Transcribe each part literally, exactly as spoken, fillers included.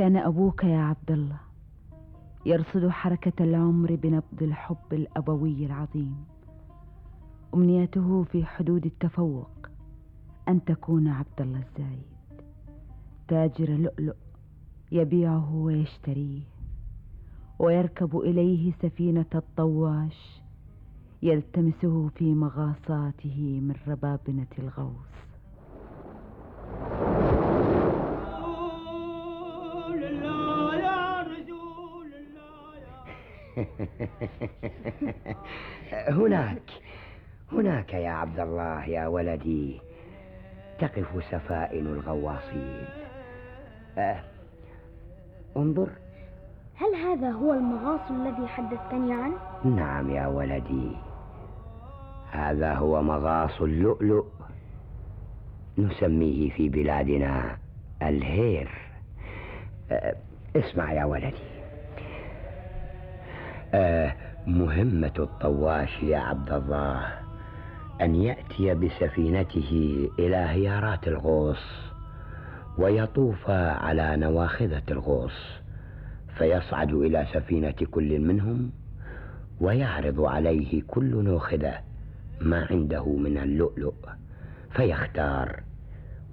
كان أبوك يا عبد الله يرصد حركة العمر بنبض الحب الأبوي العظيم. أمنيته في حدود التفوق أن تكون عبد الله الزايد تاجر لؤلؤ يبيعه ويشتريه، ويركب إليه سفينة الطواش يلتمسه في مغاصاته من ربابنة الغوص. هناك هناك يا عبد الله يا ولدي تقف سفائن الغواصين. أه انظر. هل هذا هو المغاص الذي حدثتني عنه؟ نعم يا ولدي، هذا هو مغاص اللؤلؤ، نسميه في بلادنا الهير. أه اسمع يا ولدي، أه مهمة الطواش يا عبد الله أن يأتي بسفينته إلى هيارات الغوص ويطوف على نواخذة الغوص، فيصعد إلى سفينة كل منهم ويعرض عليه كل ناخذة ما عنده من اللؤلؤ، فيختار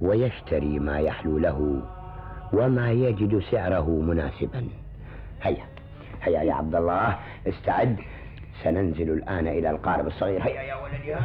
ويشتري ما يحلو له وما يجد سعره مناسبا. هيا هيا يا عبد الله استعد، سننزل الآن إلى القارب الصغير. هيا يا ولدي.